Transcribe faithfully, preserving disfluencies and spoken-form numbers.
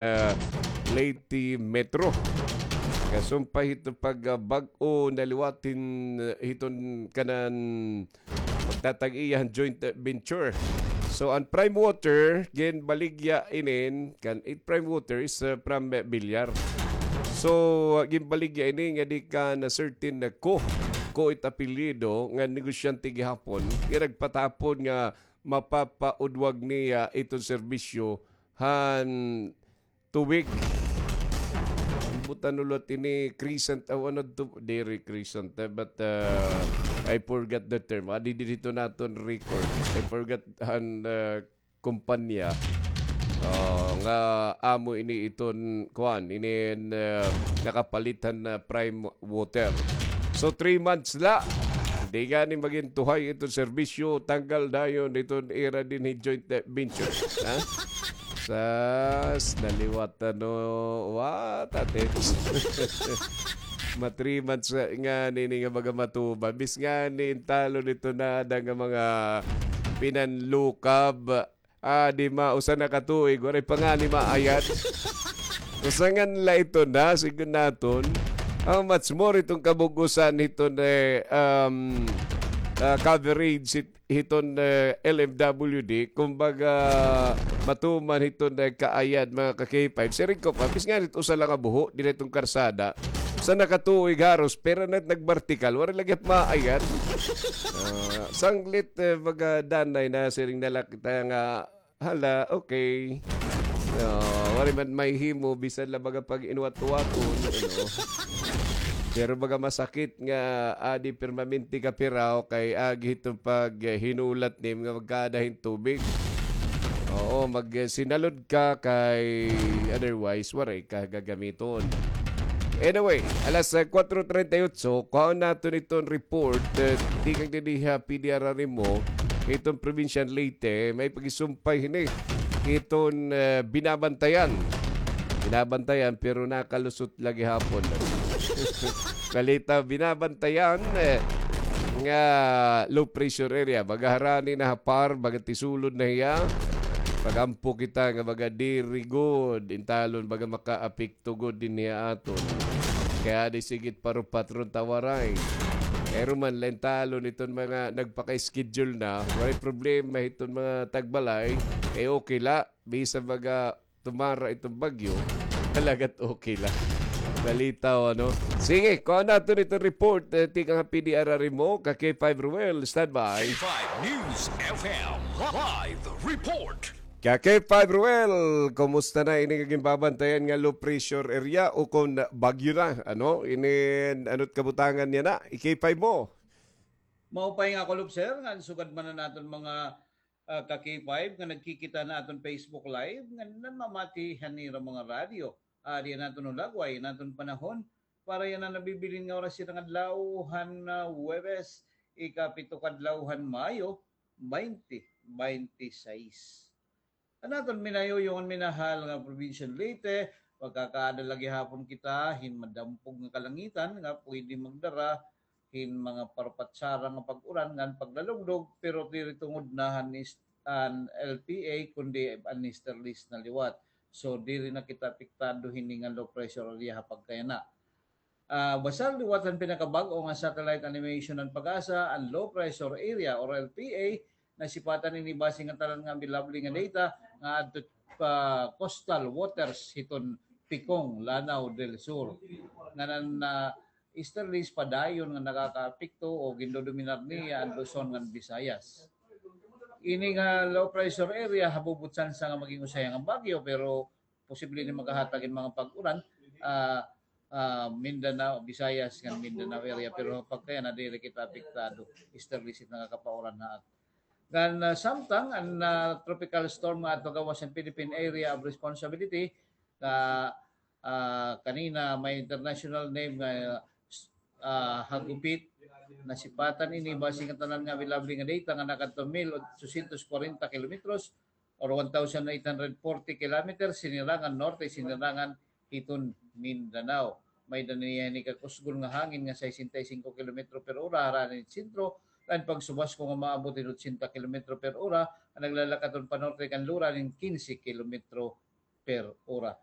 ah, Leyte Metro. Kasumpay hiton pag, ah, bag-o na liwat hin, ah, hiton kanan pagtatag-iya han joint, ah, venture. So, an Prime Water, ginbaligya inin, kan, it Prime Water is, ah, from, ah, Villar. So, ah, ginbaligya ini ngadi kan, ah, certain, ah, Ko. Ko it apelyido, nga negosyante gihapon. Nga nagpatapon nga mapapaudwag niya iton serbisyo han tubig. Butan ulit ini Crescent, ah, ano to, diri Crescent, eh, but, ah, I forgot the term. Ah, di, di dito naton record. I forgot han, ah, kumpanya. Oh, nga amo ini iton, kuan, ini, ah, nakapalit han, ah, Prime Water. So, three months la. Di gani magin tuhay iton serbisyo, tanggal dayon iton ira dinhi joint, eh, venture. Ha? Sas, naliwat ano, what a tits. Ma three months nga, ngani ini nga baga matuman. Bis ngani, intalo dito na ada nga mga pinanlukab. Ah, di ma, usa na ka tuig, waray pa ngani maayad. Usa ngan la ito na, sigon naton. How much more iton kabug-usan hiton, eh, um, ah, coverage hit-, hiton, eh, L M W D, kumbaga, matuman hiton, eh, kaayad, mga ka-K five. Siring ko pa, bis ngani it usa la nga buho, diri iton karsada. Usa na ka tuig haros, pero na nagbartikal, waray lagi maayad. Ah, sanglit, eh, baga danay na, siring na la kita nga, hala, okay. Ah, waray man mahihimo, bisan la baga pag-inuwat-uwaton, ano. Pero baga masakit nga adi permanente ka piraw kay agi hiton paghinulat nim nga magkaada hin tubig. Oo, mag, eh, sinalod ka kay otherwise, waray ka gagamiton. Anyway, alas, eh, kwatro treinta y ocho, kuhaon naton iton report, eh, tikang dinhi ha P D R R M O, iton probinsya han Leyte, may pagisumpay hini, iton, eh, binabantayan. Binabantayan, pero nakalusot la gihapon. Balita, binabantayan, eh, nga low pressure area. Baga harani na ha PAR, baga tisulod na hiya. Pag-ampo kita nga baga diri gud, intalon baga makaapekto gud dinhi ha aton. Kay adi sige it parupat ron ta waray. Pero man la intalon iton mga nagpaka-schedule na, waray problema iton mga tagbalay. Kay okay la, bisan baga tumara iton bagyo, talaga it okay la. Balita, ano? Sige, kuha naton iton report, eh, tikang ha P D R R M O, ka K five Ruel, standby. K five News F M, live report. Ka K five Ruel, kumusta na ini nga ginbabantayan nga low pressure area o kon bagyo na, ano? Ini, ano it kabutangan niya na, i K five mo? Maupay nga kulop, sir, ngan sugad man an aton mga ah, ka K five nga nagkikita han aton Facebook Live, ngan nanmamati han ira mga radyo. Adi an aton hulagway, an aton panahon, para yana nabibilin nga oras, yana nga adlaw han, ah, Huwebes, ikapito ka adlaw han Mayo, baynte baynte sais. An aton minayuyong ngan minahal nga probinsya han Leyte, magkakaada la gihapon kita hin madampog nga kalangitan nga pwede magdara hin mga parpatsara nga pag-uran ngan paglalugdog, pero diri tungod na han is-, an L P A, kundi an easterlies na liwat. So, diri na kita apektado hini nga low pressure area ha pagkayana. Ah, basta liwat han pinakabag-o nga satellite animation han PAGASA, an low pressure area or L P A, nasipatan ini base ngatanan nga available nga data nga adto pa coastal waters hiton Picong, Lanao del Sur. Ngan an, ah, easterlies padayon nga nakakaapekto o gindodominar niya an Luzon ngan Visayas. Ini nga low pressure area, habubot tsansa nga maging usa hiya nga bagyo, pero posible ini makahatag hin mga pag-uran, ah, ah, Mindanao, Visayas, ngan Mindanao area. Pero pagkayana, diri kita apektado, easterlies it nakakapauran ha aton. Ngan, ah, samtang an, ah, tropical storm nga adto gawas han Philippine Area of Responsibility, nga, ah, kanina may international name nga, ah, Hagupit. Nasipatan ini base ngatanan nga available nga data nga nakadto mil ochocientos kwarenta kilometros or one thousand eight hundred forty kilometers, sinirangan norte, sinirangan hiton Mindanao. May-ada niya ini kakusgon nga hangin nga sesenta y cinco kilometro per ora harani hin sentro, ngan pagsubasko nga maabot hin ochenta kilometro per ora, an naglalakat-on panorte kan lura hin quince kilometro per ora.